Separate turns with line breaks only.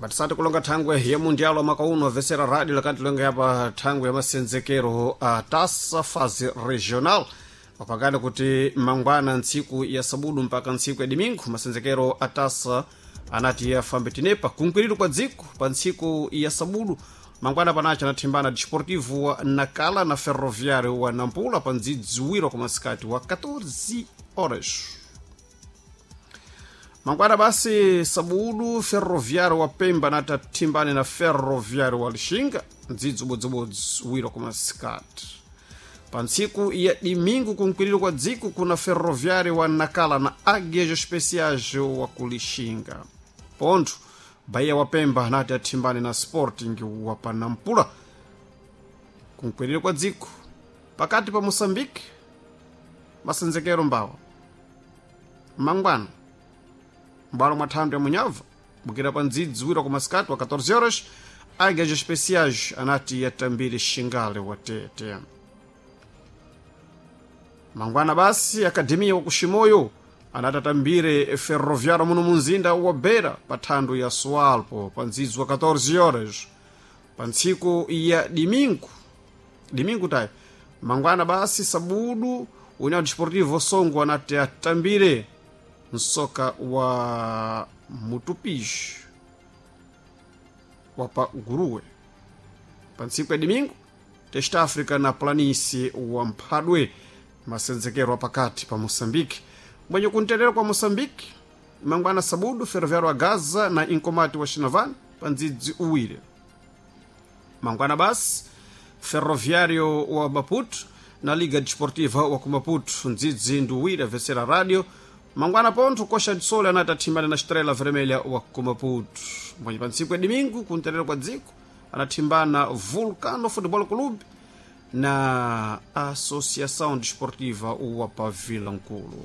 Batisati kulonga thangwe ya mundialo wa mwaka uno avesera radio lakati longa yapa thangwe ya masenzekero a tasa fase regional wapakani kuti mangwana ntsiku ya sabudu mpaka ntsiku ya dimingu masenzekero a tasa anati afambe tinepa kunkwiriro kwa dziko pa ntsiku ya sabudu mangwana panacho anathimbana Desportivo wa Nakala na Ferroviário wa Nampula pa ndzidziwiro kwa masikati wa 14 horas. Mangwana basi sabudu Ferroviário wa Pemba natathimbane na Ferroviário wa Lixinga ndzidzi ubodzibodzi wiro kwa masikati. Pa ntsiku ya dimingu kunkwiriro kwa dziko kuna Ferroviário wa Nakala na Águias Especiais wa kulixinga. Pontho Bahia wa Pemba nati athimbane na Sporting wa Panampula kunkwiriro kwa dziko. Pakati pa Moçambique masenzekero mbawa mangwana mbalo mwa thando ya munyava bukira pa ndzidzi wira kwa masikati wa 14 horas Águias Especiais anati yatambire Xingale wa Tete. Mangwana basi Akademia wa kuximoyo anati atambire Ferroviário muno munzinda wa Beira pa thando ya Sualpo pa ndzidzi wa 14 horas. Pa ntsiku ya dimingu dimingu tayi mangwana basi sabudu União Desportivo Songo anati atambire msoka wa Mutupis wa pa Guruwe. Pa ntsiku ya dimingu Teste África na Planície wa Mphadwe masenzekero apakati pa Moçambique. Mwenye kunterera kwa Moçambique mangwana sabudu Ferroviário wa Gaza na Inkomati wa Xinavane pa ndzidzi uwiri. Mangwana basi Ferroviário wa Maputo na Liga Desportiva wa kumaputo ndzidzi ndi uwiri avesera radio. Mangwana pontho Coxa de Sol anati athimbane na Estrela Vermelha wa kumaputo. Mwenye pa ntsiku ya dimingu kunterera kwa dziko anathimbana Vulcano Futebol Clube na Associação Desportiva wa Pavila Nkulu.